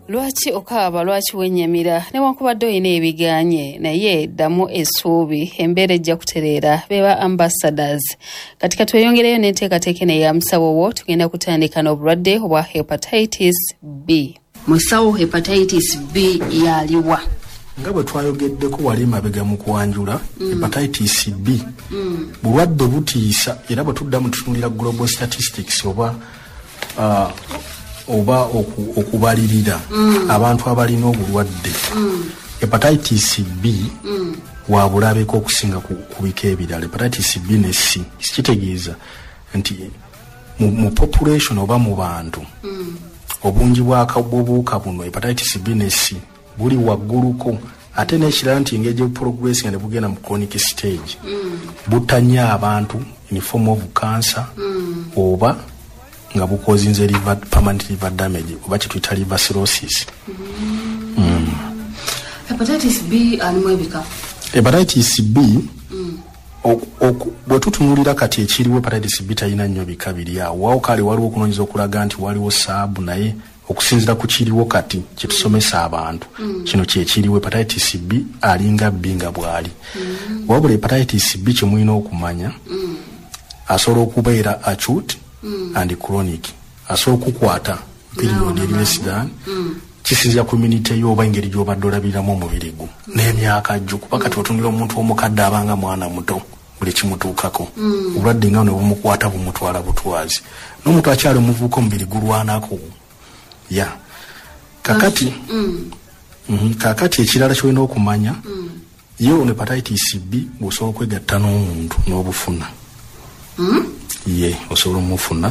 Lwaki okaaba? Lwaki wennyamira newankubadde olina ebiganye? Naye ddamu essuubi, embeera ejja kutereera. Beba Ambassadors. Kati katweyongereyo n'enteekateeka eno eya Musawo wo. Tugenda kutandika n'obulwadde obwa hepatitis B. Musawo, hepatitis B yaliwa? Nga bwe twayogeddeko wali emabega mu kwanjula, hepatitis B bulwadde butiisa, era bwe tudda mu tutunulira global statistics oba okubalirira abantu abalina obulwadde, hepatitis B wabulabeko okusinga ku bika ebirala, hepatitis B ne C. Kitegeeza nti mu population oba mu bantu, obungi bw'obuwuka buno hepatitis B ne C buli wagguluko. Ate n'ekirala nti engeri gye nga ne bugenda mu chronic stage, butta nnyo abantu in form of cancer oba nga bukozinze liver, permanent liver damage oba kyetuyita liver cirrhosis. Hepatitis B alimu ebika? Hepatitis B, bwe tutunulira kati ekiriwo, hepatitis B talina nnyo bika biri awo wawo. Kale waliwo okunoonyeza okulaga nti waliwo saabu, naye okusinziira ku kiriwo kati kyetusomesa abantu, kino kyekiriwo. Hepatitis B alinga B nga bw'ali, wabula hepatitis B kyemulina okumanya, asobola okubeera acute and chronic. Asobola okukwata period eri less than, kisinzira ku immunity yo oba engeri gy'obadde olabiriramu omubiri gwo n'emyaka gyo, kuba kati otunula omuntu omukadde abanga mwana muto, buli kimutuukako obulwadde nga ne bumukwata bumutwala butwazi, n'omuntu akyali omuvubuka omubiri gulwanako ya kakati. Kakati ekirala kyolina okumanya, ye ono hepatitis B bw'osobola okwegatta n'omuntu n'obufuna, ye osobola omufuna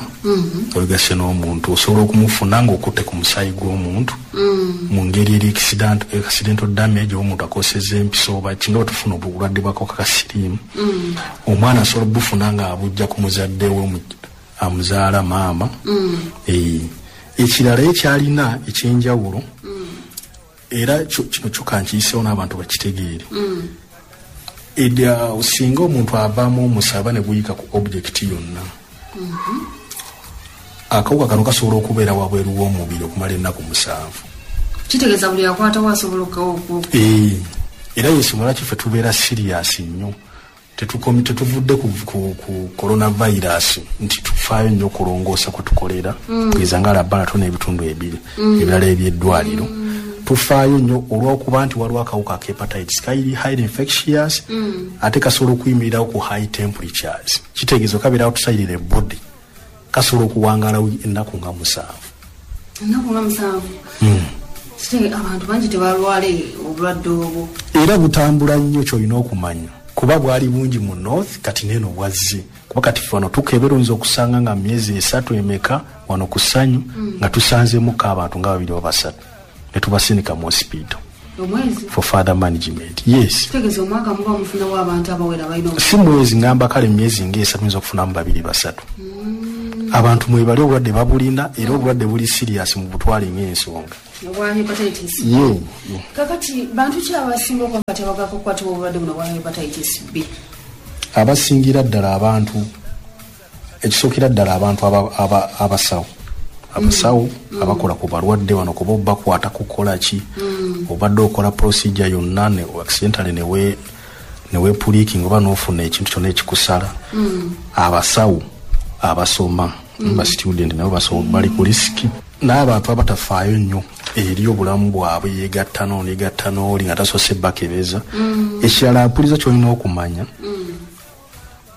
owegasse n'omuntu, osobola okumufuna ng'okutte ku musaayi gw'omuntu mu ngeri eri accidental damage, oba omuntu akoseza empiso oba kinga bwe tufuna obulwadde bw'akawuka ka siriimu. Omwana asobola obufuna ng'abujja ku muzadde we amuzaala maama. Ekirala ekyalina ekyenjawulo, era kino kyo kankiyisewo n'abantu bakitegeere, edda singa omuntu avaamu omusaba ne guyika ku object yonna, akawuka kano kasobola okubeera wabweru w'omubiri okumala ennaku 7. Kitegeeza buli akwatawo asobola okukawo? Era yensonga lwaki ffe tubeera serious nnyo. Tetuvudde ku coronavirus nti tufaayo nnyo okulongoosa kwe tukolera, kugeza nga laboratory n'ebitundu ebiri ebirala ebyeddwaliro. Tufaayo nnyo olw'okuba nti waliwo akawuka ka hepatitis kali highly infectious, ate kasobola okuyimirirawo ku high temperatures. Kitegeeza okabeera outside the body, kasobola okuwangaala ennaku nga 7. Ennaku nga 7? Kite abantu bangi tebalwale obulwadde obwo. Era butambula nnyo. Kyolina okumanya, kuba bwali bungi mu north, kati neeno bwazze, kuba kati ffe wano tukebera, oyinza okusanga nga myezi 3 emeka wano ku Ssanyu nga tusanzemuko abantu nga babiri oba basatu, ne tubasindika mu hospital Omwezi? for further management, yes. Kitegeeza omwaka muba mufunawo abantu abawera balina Si mwezi, ngamba kale myezi nga 3 oyinza okufunamu babiri basatu. Abantu mwebali obulwadde babulina, era obulwadde buli serious, mu butwale ng'ensonga. Obwa hepatitis? Ye. Kakati bantu ki abasinga okuba nga tebagako kukwatibwa obulwadde buno bwa hepatitis B? Abasingira ddala abantu, ekisookera ddala abantu abasawo abakola ku balwadde wano, kuba bakwata kukola ki, obadde okola procedure yonna ne accidentally newepricking oba nofuna ekintu kyonna ekikusala. Abasawo abasoma, ba student, nabo basawo bali ku risk, n'abantu abatafaayo nnyo eri obulamu bwabwe, yegatta n'ono, yegatta n'oli nga tasoose bakebeza. Ekirala mpuliza kyolina okumanya,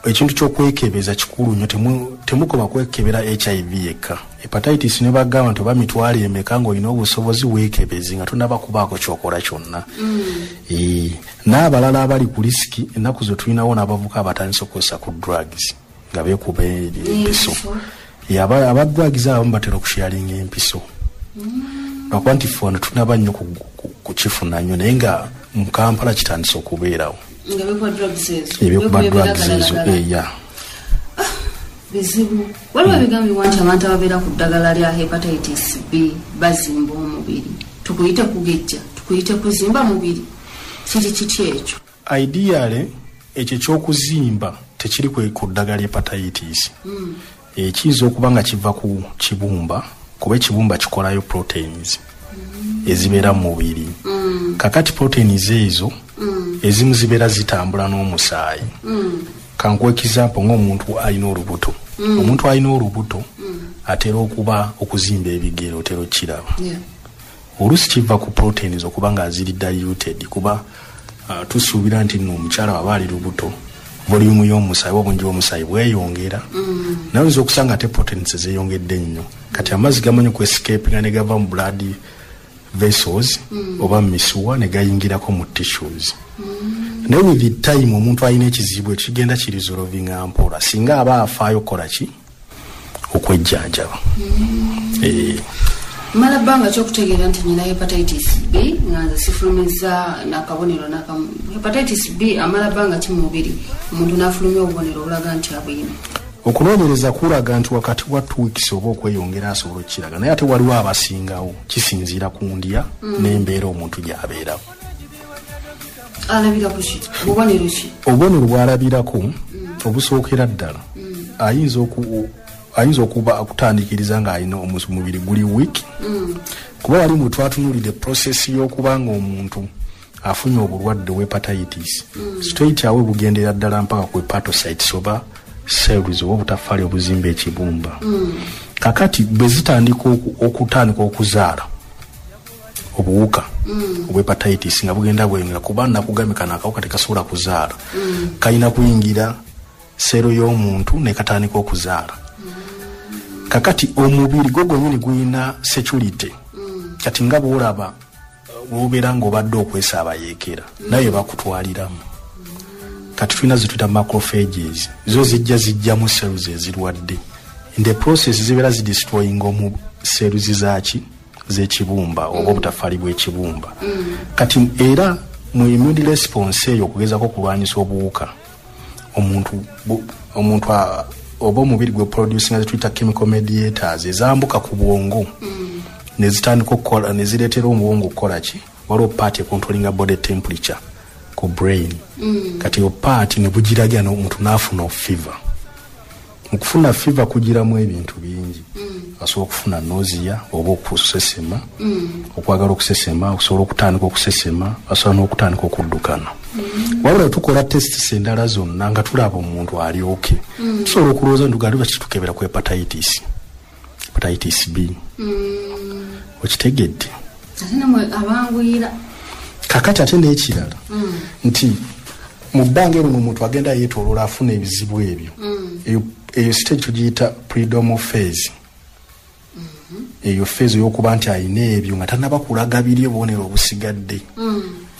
ekintu ky'okwekebeza kikulu nnyo. Temukoma kwekebera HIV yekka, hepatitis ne bagamba nti oba mitwalo emeka, ng'olina obusobozi weekebezi nga tonaba kubaako kyokola kyonna. N'abalala abali ku risk, ennaku zo tulinawo n'abavuka abatandise okukozesa ku drugs nga beekuba empiso. Aba drugs abamu batera okusharinga empiso, lwakuba nti ffe wano tunaba nnyo kukifuna nnyo, naye nga mu Kampala kitandise okubeerawo. Nga bekuba drugs ezo? Ebyekuba Bekuba drugs ezo. ebiragalalagala. Eya. Bizibu. Waliwo ebigambibwa nti abantu ababeera ku ddagala lya hepatitis B bazimba omubiri. Tukuyite kugejja, tukuyite kuzimba mubiri, kiri kiti ekyo? Ideally ekyo ekyokuzimba tekiri ku ddagala hepatitis. Ekiyinza okuba nga kiva ku kibumba, kuba ekibumba kikolayo proteins. ezibeera mu mubiri. Kakati proteins ezo ezimu zibeera zitambula n'omusaayi. Kankuwe example ng'omuntu alina olubuto. Omuntu alina olubuto atera okuba okuzimba ebigere, otera okiraba. Oluusi kiva ku proteins okuba nga ziri diluted, kuba tusuubira nti nno omukyala waba ali lubuto volume y'omusaayi oba obungi bw'omusaayi bweyongera, naye oyinza okusanga ate proteins zeeyongedde nnyo. Kati amazzi gamanyi okwescapinga ne gava mu blood vessels oba mu misuwa ne gayingirako mu tissues. Naye with the time omuntu alina ekizibu ekyo kigenda kiresolvinga mpola singa aba afaayo okukola ki, okwejjanjaba. Mala bbanga kyokutegeera nti nyina hepatitis B nga nze sifulumiza nakabonero nakamu? Hepatitis B amala bbanga ki mu mubiri omuntu n'afulumya obubonero obulaga nti abuyina? Okunoonyereza kulaga nti wakati wa 2 weeks oba okweyongera asobola okukiraga, naye ate waliwo abasingawo, kisinziira ku ndya n'embeera omuntu gy'abeeramu. Alabira ku ki? Bubonero ki? Obubonero bw'alabirako obusookera ddala, ayinza okuba okutandikiriza ng'alina omubiri guli weak, kuba wali mwe twatunulidde process y'okuba nga omuntu afunye obulwadde obwa hepatitis, straight away bugendera ddala mpaka ku hepatocytes oba cells oba obutafaali obuzimba ekibumba. Kakati bwe zitandika okutandika okuzaala obuwuka obwa hepatitis nga bugenda bweyongera, kuba nakugambye kano akawuka tekasobola kuzaala, kalina kuyingira seero y'omuntu nekatandika okuzaala. Kakati omubiri gwo gwennyini gulina security. Kati nga bwolaba bwobeera ng'obadde okwesa abayeekera, naye bakutwaliramu. Kati tulina zituyita macrophages, zo zijja zijjamu cells ezirwadde. In the process zibeera zidestroyinga omu cells zaki, z'ekibumba oba obutafaali bw'ekibumba. Kati era mu immune response eyo okugezako okulwanyisa obuwuka, omuntu oba omubiri gwe producinga zetuyita chemical mediators ezambuka ku bwongo nezitandika okukola, nezireetera obwongo okukola ki, waliwo part econtrollinga body temperature ku brain. Kati eyo part ne bugiragira omuntu n'afuna fever. Mu kufuna fever kugiramu ebintu bingi: asobola okufuna nausea oba okusesema, okwagala okusesema, okusobola okutandika okusesema, asobola n'okutandika okuddukana. Wabula tukola tests endala zonna nga tulaba omuntu ali okay, tusobola okulowooza nti gali lwaki tukebera ku hepatitis B. Okitegedde? Ate namwe abanguyira. Kakati ate n'ekirala nti mu bbanga eryo omuntu agenda yeetoloola afuna ebizibu ebyo, eyo stage tugiyita prodromal phase. Eyo phase ey'okuba nti alina ebyo nga tanaba kulaga biri obubonero obusigadde.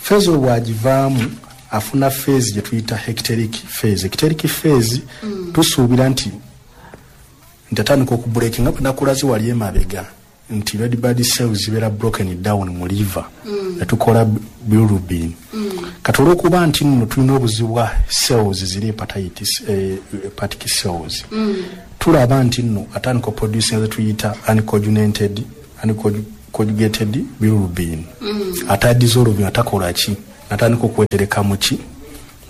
Phase obwo bwagivaamu afuna phase gye tuyita icteric phase. Icteric phase tusuubira nti atandika okubreakinga nga bwe nakulaze wali emabega nti red blood cells zibeera broken down mu liver netukola bilirubin. Kati olwokuba nti nno tulina obuzibu bwa cells ziri hepatitis, hepatic cells, tulaba nti nno atandika oproducinga zetuyita unconjugated bilirubin, ate adissolving atakola ki, natandika okwetereka muki,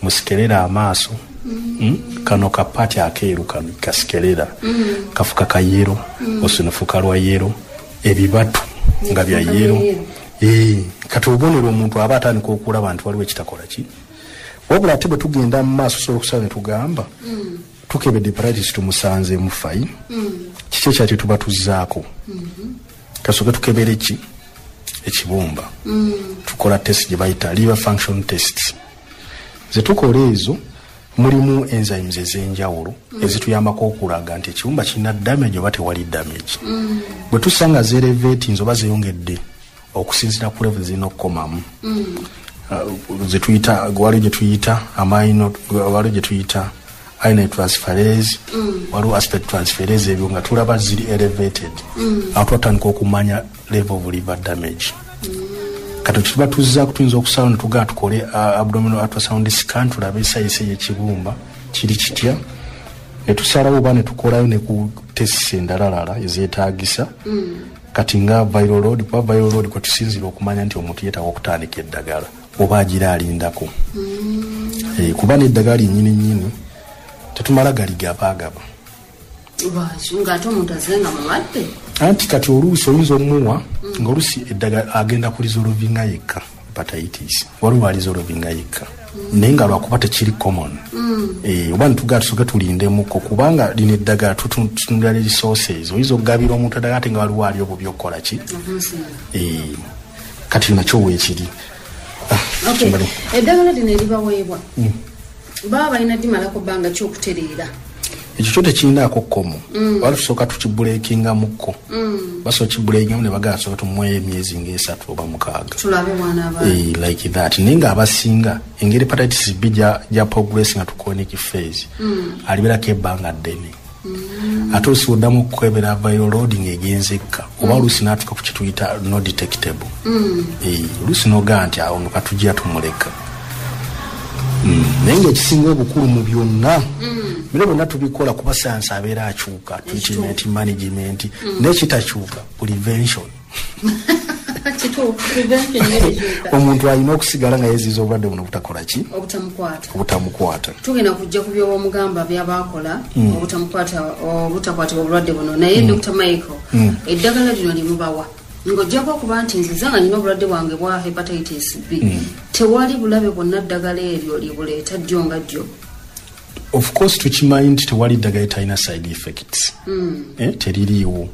mu sclera, amaaso. Kano kapati akeeru kano ka sclera kafuka ka yellow, olusunufuka lwa yellow, ebibatu nga bya yellow. Kati obubonero omuntu aba atandika okulaba nti waliwo ekitakola ki. Wabula ate bwe tugenda mu maaso osobola okusala ne tugamba tukebedde hepatitis tumusanzeemu, fine, kiki ekyaki tuba tuzzaako? Kasooke tukebere ki, ekibumba. Tukola test gye bayita liver function test. Zetukola ezo mulimu enzymes ez'enjawulo ezituyambako okulaga nti ekibumba kirina damage oba tewali damage. Bwe tusanga zeelevatinze oba zeyongedde okusinziira ku level zirina okukomamu, zetuyita, waliwo gyetuyita amino, waliwo gyetuyita alanine transferase, waliwo aspartate transferase, ebyo nga tulaba ziri elevated, awo twatandika okumanya level of liver damage. Kati tuba tuzzaako tuyinza okusalawo ne tugaa tukole abdominal ultrasound scan tulabe size y'ekibumba kiri kitya, ne tusalawo oba ne tukolayo ne ku tests endalalala ezeetaagisa. Kati nga viral load, kuba viral load kwe tusinzira okumanya nti omuntu yeetaaga okutandika eddagala oba agira alindako. Kuba n'eddagala lyennyini nnyini tetumala galigabaagaba. Ng'ate omuntu azze nga mulwadde. Anti kati oluusi oyinza omuwa ng'oluusi eddagala agenda kuresolvinga yekka hepatitis, waliwo aresolvinga yekka, naye nga lwakuba tekiri common. Oba nitugaa tusooke tulindemuko, kubanga lino eddagala tutunula resources, oyinza okugabira omuntu eddagala ate nga waliwo ali obubi okukola ki. Kati nakyo weekiri. Eddagala lino eribaweebwa baba balina dimalako bbanga ki okutereera? Ekyo kyo tekirinaako kkomo. Wali tusooka tukibreakingamukko, basobola kibreakingamu ne bagala tusooka tumuweyo emyezi nga 3 oba 6. Tulabe bwanaaba. Like that. Naye ng'abasinga engeri hepatitis B gya progress nga chronic phase, alibeerako ebbanga ddene. Ate oluusi oddamu okukwebera viral load ng'egenze ekka, oba oluusi n'atuuka ku kituyita no detectable. Oluusi n'ogaa nti awo no katujja tumuleka. Naye ng'ekisinga obukulu mu byonna, bino byonna tubikola kuba sayansi abeera akyuka, treatment, management, naye kitakyuka prevention. Kituufu, prevention yekyuka. Omuntu alina okusigala nga yeeziiza obulwadde buno butakola ki? Obutamukwata. Obutamukwata. Tugenda kujja ku byobamugamba byabakola obutamukwata, obutakwatibwa obulwadde buno. Naye Dr Michael, eddagala lino limubawa ng'ojjako okuba nti nziza nga nina obulwadde bwange bwa hepatitis B, tewali bulabe bwonna ddagala eryo libuleeta ddyo nga ddyo? Of course tukimanyi nti tewali ddagala etalina side effects. Teririiwo.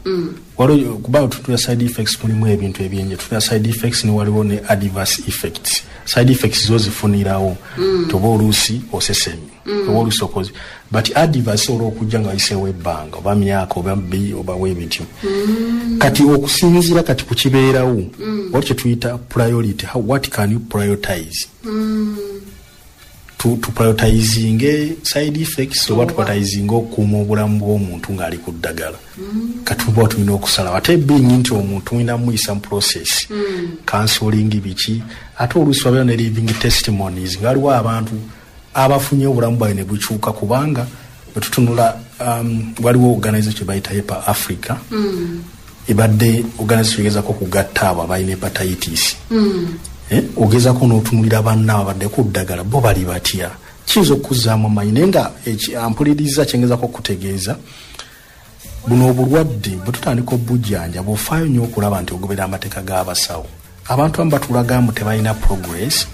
Waliwo, kuba tutula side effects mulimu ebintu ebyenje, tutula side effects ne waliwo ne adverse effects. Side effects zo zifunirawo toba oluusi osesemi, oba oluusi okoze, but adverse olwokujja nga wayiseewo ebbanga oba myaka oba bbi oba webityo. Kati okusinziira kati ku kibeerawo, waliwo kyetuyita priority. What can you prioritize? Tuprioritizinge side effects oba tuprioritizinge okukuuma obulamu bw'omuntu ng'ali ku ddagala? Kati tuba tulina okusalawo. Ate bingi nti omuntu olina muyisa mu process, counseling, biki. Ate oluusi wabeera ne living testimonies nga waliwo abantu abafunye obulamu bwabwe ne bukyuka, kubanga bwe tutunula, waliwo organization kye bayita Hepa Africa, ebadde organization egezako okugatta abo abalina hepatitis. Ogezako n'otunulira banna abadde ku ddagala, bo bali batya? Kiyinza okuzzaamu amanyi. Naye nga ampuliriza, kyengezako okutegeeza, buno obulwadde bwe tutandika obujjanja, bw'ofaayo nnyo okulaba nti ogobera amateeka g'abasawo. Abantu abamu batulaga mbu tebalina progress,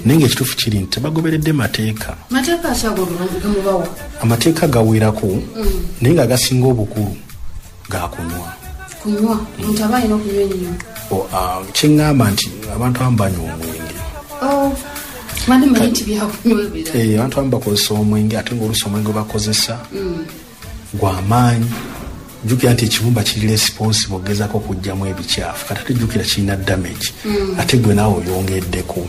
naye ngaekituufu kiri nti tebagoberedde mateeka. Mateeka akyago gamubawa? Amateeka gawerako, naye nga agasinga obukulu gakunywa. Kunywa, omuntu aba alina okunywa ennyo? Kyeŋŋamba nti abantu abamu banywa omwenge. Oh, mani manyi nti byakunywa ebirala. Abantu abamu bakozesa omwenge, ate ngaoluusi omwenge gwe bakozesa gwamaanyi. Jjukira nti ekibumba kiri responsible ogezako okugjamu ebikyafu. Kati ate jjukira kirina damage, ate gwe naawe oyongeddeko.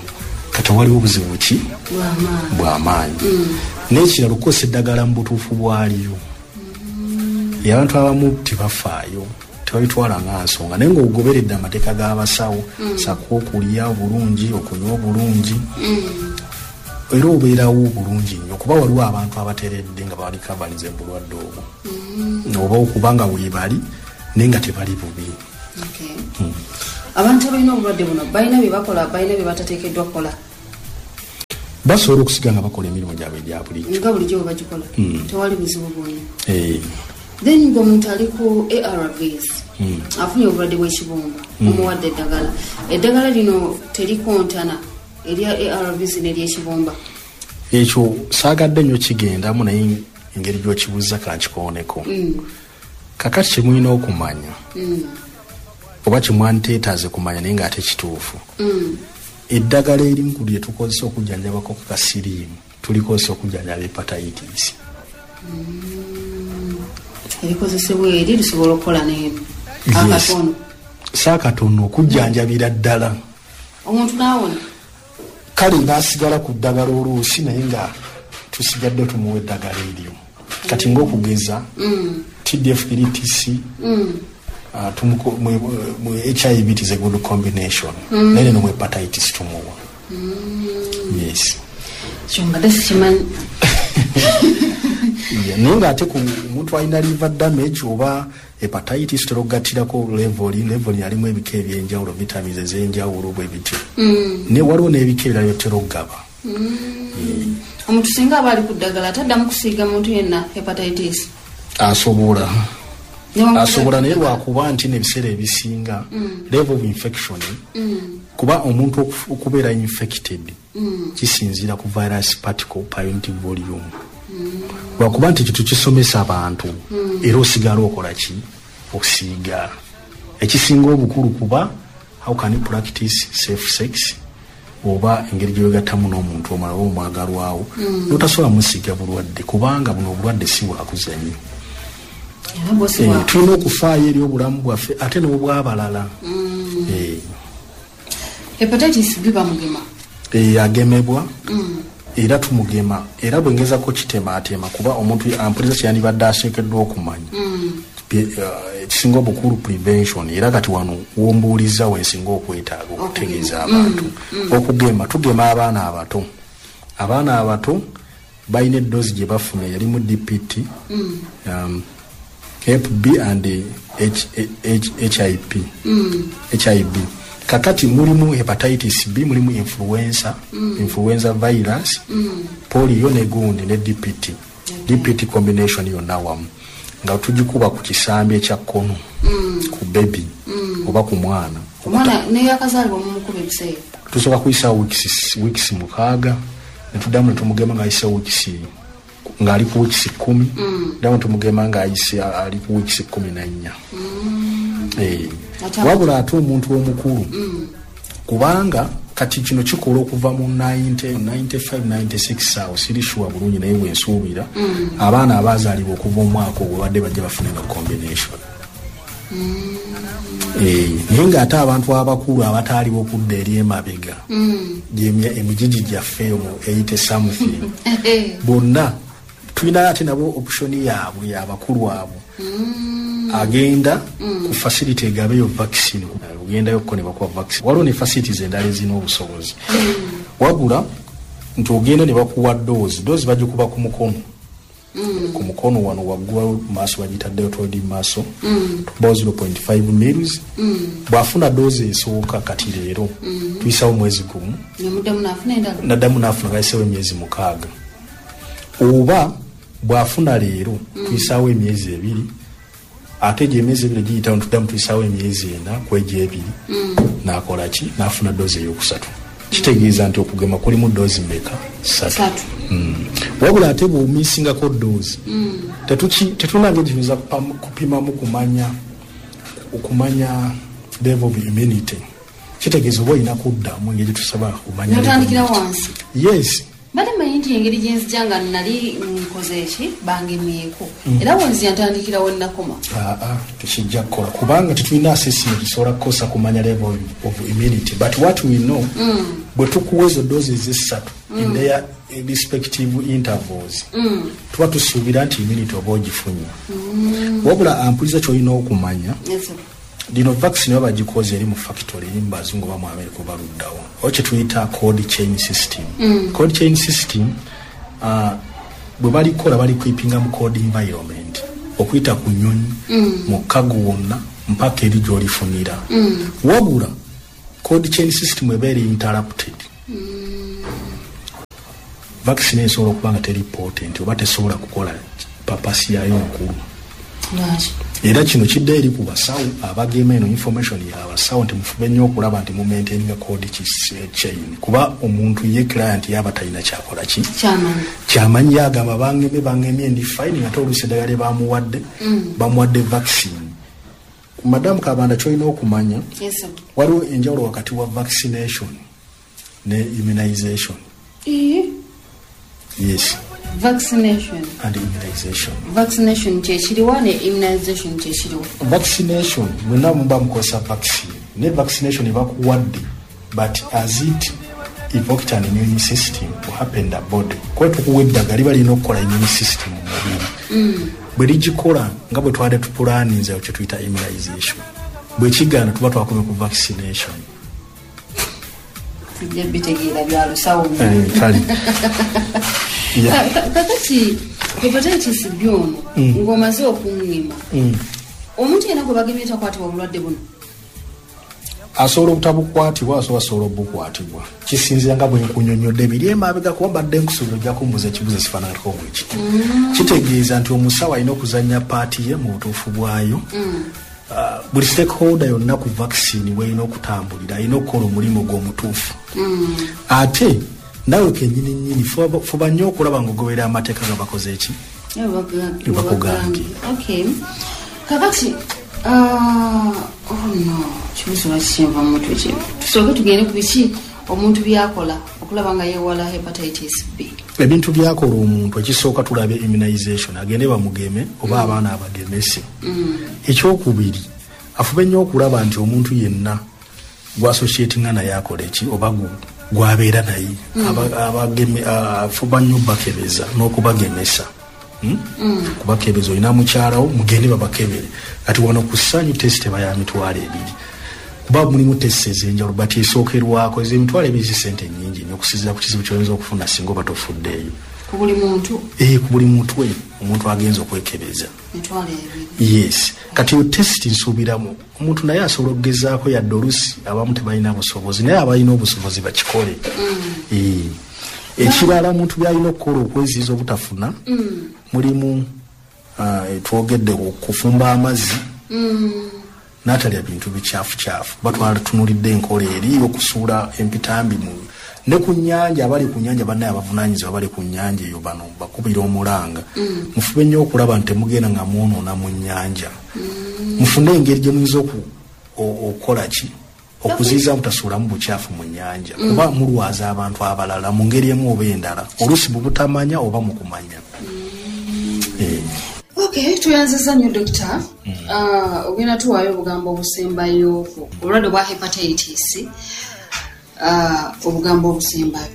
Kati waliwo obuzibu ki? Bwamaanyi. Bwamaanyi. N'ekirala, okukozesa eddagala mu butuufu bwaliyo. Abantu abamu tebafaayo, tebabitwala nga nsonga, naye ng'ogoberedde amateeka g'abasawo, sako okulya obulungi, okunywa obulungi, era obeerawo bulungi nnyo, kuba waliwo abantu abateredde nga balikavaliza bulwadde obwo, oba okuba nga weebali naye nga tebali bubi. Okay. Abantu abalina obulwadde buno balina bye bakola, balina bye batateekeddwa kukola? Basobola okusiga nga bakola emirimu gyabwe egya bulijjo. Nga bulijjo bwe bagikola, tewali buzibu bwonna? Eh. Then ng'omuntu ali ku ARVs, afunye obulwadde bw'ekibumba, omuwadde eddagala, eddagala lino terikontana erya ARVs n'eryekibumba? Ekyo saagadde nnyo kigendamu, naye engeri gy'okibuuza kankikooneko. Kakati kyemulina okumanya, oba kyemwanteetaaze kumanya, naye ng'ate kituufu, eddagala erimu lye tukozesa okujjanjabako kasiriimu tulikozesa okujjanjaba hepatitis. Erikozesebwa eri lisobola okukola n'eno? Yes. Akatono? Saakatono, okujjanjabira ddala. Omuntu n'awona? Kale n'asigala ku ddagala oluusi, naye nga tusigadde tumuwa eddagala eryo. Kati ngaokugeza TDF 3TC, mu HIV it is a good combination, naye neno mu hepatitis tumuwa, yes. Kyo mbadde sikimanyi. Yeah, naye ngaate ku omuntu alina liver damage oba hepatitis, tutera okugattirako Levolin. Levolin alimu ebika ebyenjawulo, vitamins ez'enjawulo bwe bityo, naye waliwo n'ebika ebirala byotera okugaba. Omuntu singa aba ali ku ddagala, taddamu kusiiga muntu yenna hepatitis? Asobola. Asobola naye lwakuba nti n'ebiseera ebisinga level of infection, kuba omuntu okubeera infected kisinziira ku virus particle per unit volume. Lwakuba nti kitu kisomesa abantu, era osigala okola ki? Okusiiga. Ekisinga obukulu kuba how can you practice safe sex, oba engeri gyewegattamu n'omuntu omulala oba omwagalwawo, notasobola musiiga bulwadde, kubanga buno obulwadde si bwakuzanyo. Tulina okufaayo eri obulamu bwaffe ate n'obwabalala. Hepatitis B bamugema? Agemebwa, era tumugema, era bwengezako kitemaatema kuba omuntu ampuliza kyeyandibadde aseekeddwa okumanya ekisinga obukulu prevention. Era kati wano wombuuliza wensinga okwetaaga okutegeeza abantu okugema. Tugema abaana abato. Abaana abato balina eddoozi gye bafuna yalimu DPT, Hep B and HIP, HIB. Kakati mulimu hepatitis B, mulimu influenza virus, polio ne gundi ne DPT. DPT combination yonna wamu nga tugikuba ku kisambi ekya kkono ku baby oba ku mwana. Tusooka kuyisa weeks 6, netuddamu netumugema ng'ayise weeks, ng'ali ku weeks 10, ddamu tumugema ng'ayise ali ku weeks 14. Wabula ate omuntu omukulu, kubanga kati kino kikola okuva mu 90, 95, 96 awo siri sure bulungi, naye bwensuubira abaana abazaalibwa okuva omwaka ogwo badde bajja bafune no combination. Naye ng'ate abantu abakulu abataaliwo okudda eri emabega, emigigi gyaffe mu 80 something, bonna tulina ate nabo option yaabwe abakulu abo. Agenda ku facility egabeyo vaccine, ogendayo ko ne bakuwa vaccine. Waliwo ne facilities endala ezirina obusobozi, wabula nti ogenda ne bakuwa dose. Dose bagikuba ku mukono, ku mukono wano waggulu maaso, bagiyita deltoid muscle, tukubawo 0.5 mils. Bw'afuna dose esooka kati leero, tuyisawo mwezi gumu, naddamu n'afuna gayisewo emyezi 6. Oba bw'afuna leero, tuyisawo emyezi 2, ate gye emyezi 2 giyitawo tuddamu tuyisawo emyezi 4 ku egyo 2, n'akola ki? N'afuna dose eyokusatu. Kitegeeza nti okugema kulimu dose mmeka? 3. Wabula ate bw'omisingako dose, tetulina ngeri tuyinza kupimamu okumanya level of immunity. Kitegeeza oba olina kuddamu engeri tusobola kumanya. Notandikira wansi? Yes. Mbadde mmanyi nti engeri gye nzija nga nali nkoze eki bangemyeko, era bwe ntandikira we nnakoma. Aa, tekijja kukola kubanga tetulina assessment tusobola kukosa kumanya level of immunity. But what we know, bwe tukuwa ezo doses 3 in their respective intervals, tuba tusuubira nti immunity oba ogifunye. Wabula ampuliza ky'olina okumanya, lino vaccine baba bagikoze eri mu factory eri mu bazungu oba mu America oba luddawo, oba kye tuyita cold chain system. Cold chain system, bwe balikola balikeepinga mu cold environment, okuyita ku nnyonyi, mu cargo wonna mpaka eri gy'olifunira. Wabula cold chain system eba eri interrupted. Vaccine esobola okuba nga teri potent oba tesobola kukola purpose yayo nkulu. Era kino kidda eri ku basawo abagema. Eno information yabasawo nti mufube nnyo okulaba nti mumaintaininga cold chain, kuba omuntu ye client yaba talina kyakola ki kyamanyi, yagamba bangemye, bangemye, ndi fine, ate oluusi eddagala lye bamuwadde, bamuwadde vaccine. Madamu Kabanda, kyolina okumanya, waliwo enjawulo wakati wa vaccination ne immunization. Yes. Vaccination and immunization. Vaccination kyekiriwa ne immunization kyekiriwa? Vaccination, mwenna muba mukozesa vaccine, ne vaccination bakuwadde, but as it evoked an immune system to happen the body, kuba tukuwa eddagala liba lirina okukola immune system mu mubiri. Bwe ligikola nga bwe twade tupulaninze, kye tuyita immunization. Bwe kigaana, tuba twakomye ku vaccination. Tujja bitegeera bya lusawo. Kale. Kakati hepatitis B ono, ng'omaze okuŋŋima, omuntu yenna gwe bagemye takwatibwa obulwadde buno? Asobola obutabukwatibwa, asobola obukwatibwa, kisinzira nga bwe nkunyonnyodde biri emabega, kuba mbadde nkusuubira ojja kumbuuza ekibuuzo ekifaananako bwe kiti. Kitegeeza nti omusawo alina okuzannya part ye mu butuufu bwayo. Buli stakeholder yonna ku vaccine bw'erina okutambulira alina okukola omulimu gw'omutuufu. Ate nawe kennyini nnyini fuba nnyo okulaba ng'ogoberera amateeka nga bakoze eki bakugambye. Okay, kakati oh no, kibuzo lwaki kyenva mu mutwe kino. Tusooke tugende ku biki omuntu byakola okulaba nga yeewala hepatitis B. Ebintu byakola omuntu, ekisooka tulabe immunization, agende bamugeme oba abaana abagemese. Ekyokubiri, afube nnyo okulaba nti omuntu yenna gw'associatinga naye akola eki oba gwabeera naye afuba nnyo bakebeza n'okubagemesa. Kubakebeza, olina mukyalawo, mugende babakebere. Kati wano ku Ssanyu test eba ya 20,000, kuba mulimu test ez'enjawulo, but esookerwako ezo 20,000 zi sente nnyingi nnyo okusinziira ku kizibu kyoyinza okufuna singa oba tofuddeeyo. Ku buli muntu? Eh, ku buli mutwe omuntu agenza okwekebeza. 20,000. Yes, kati eyo test nsuubiramu omuntu naye asobola okugezaako, yadde olusi abamu tebalina busobozi, naye abalina obusobozi bakikole. Eh. Ekirala omuntu byalina okukola okweziyiza obutafuna mulimu twogedde kufumba amazzi n'atalya bintu bikyafu, kuba twalatunulidde enkola eri okusuula empitambi mu ne ku nnyanja. Abali ku nnyanja, bannaye abavunanyizibwa bali ku nnyanja eyo, bano bakubira omulanga, mufube nnyo okulaba nti temugenda nga mwonoona mu nnyanja. Mufune engeri gye muyinza okukola ki okuziyiza mutasuulamu bukyafu mu nnyanja, kuba mulwaza abantu abalala mu ngeri emu oba endala, oluusi mu butamanya oba mu kumanya. Eh. Okay, tweyanziza nnyo dokita. Ogenda tuwaayo obugambo obusembayo ku obulwadde bwa hepatitis, obugambo obusembayo.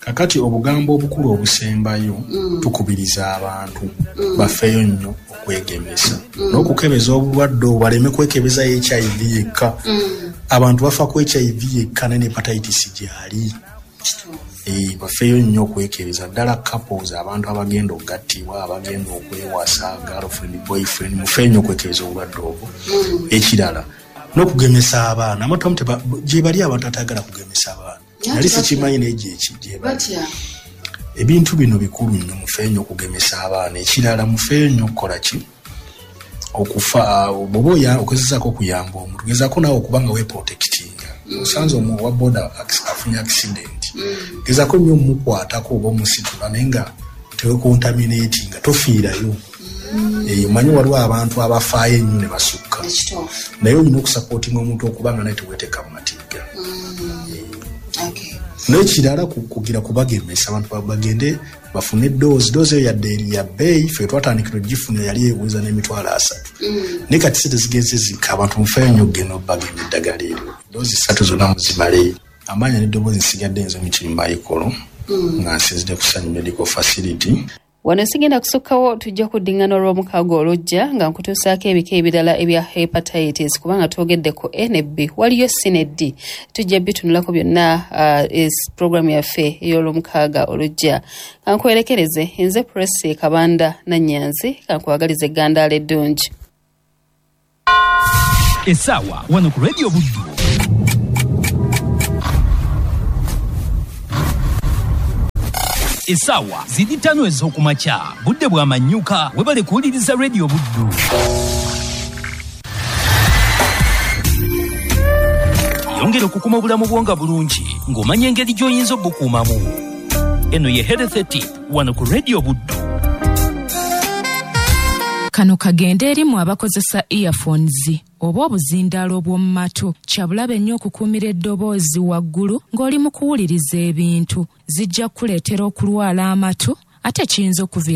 Kakati obugambo obukulu obusembayo, tukubiriza abantu bafeeyo nnyo okwegemesa n'okukebeza obulwadde obwo, baleme kwekebeza HIV yekka. Abantu bafa ku HIV yekka, naye ne hepatitis gyali. Eh, bafeeyo nnyo okwekebeza, ddala couples, abantu abagenda okugattibwa, abagenda okwewasa, girlfriend, boyfriend, mufeeyo nnyo okwekebeza obulwadde obwo. Ekirala n'okugemesa abaana. Abantu abamu gye bali abantu atagala kugemesa abaana. Nali sikimanyi, naye gyeki gyebali. Batya. Ebintu bino bikulu nnyo, mufeeyo nnyo okugemesa abaana. Ekirala, mufeeyo nnyo okukola ki, okufa bw'oba ogezezaako okuyamba omuntu, gezaako naawe okuba nga weprotectinga. Osanze owa boda afunye accident, gezaako nnyo omukwatako oba omusitula, naye nga tewecontaminatinga, tofiirayo. Eh, omanyi waliwo abantu abafaayo ennyo ne basukka. Naye olina okusupportinga omuntu okuba nga naye teweteeka mu matigga. N'ekirala, kugira kubagemesa, abantu bagende bafune dose. Dose eyo yadde eri ya bbeeyi, ffe twatandikira ogifuna yali eweza n'30,000, naye kati sente zigenze zikka. Abantu mufeeyo nnyo okugenda obagema eddagala eryo, dose 3 zonna muzimaleyo. Amaanyi n'eddoboozi nsigadde nze Mukirimba Ikolo, nga nsinzidde ku Sanyu Medical Facility. Wano sigenda kusukkawo, tujja kuddingana olw'omukaaga olujja nga nkutuusaako ebika ebirala ebya hepatitis, kubanga twogedde ku A ne B, waliyo C ne D, tujja bitunulako byonna programu yaffe ey'olwomukaaga olujja. Kankwerekereze nze Presi Kabanda Nanyanzi, kankwagaliza eggandaala eddungi. Essaawa wano ku Radio Buddu essaawa ziri 5 ez'okumakya, budde bwa manyuka. Webale kuwuliriza Radio Buddu. Yongera okukuma obulamu bwo nga bulungi ng'omanya engeri gy'oyinza obukuumamu. Eno ye Health Tip wano ku Radio Buddu. Kano kagende erimu abakozesa earphones oba obuzindaalo obw'omu matu. Kyabulabe nnyo okukuumira eddoboozi waggulu ng'oli mu kuwuliriza ebintu. Zijja kukuleetera okulwala amatu, ate kiyinza okuviira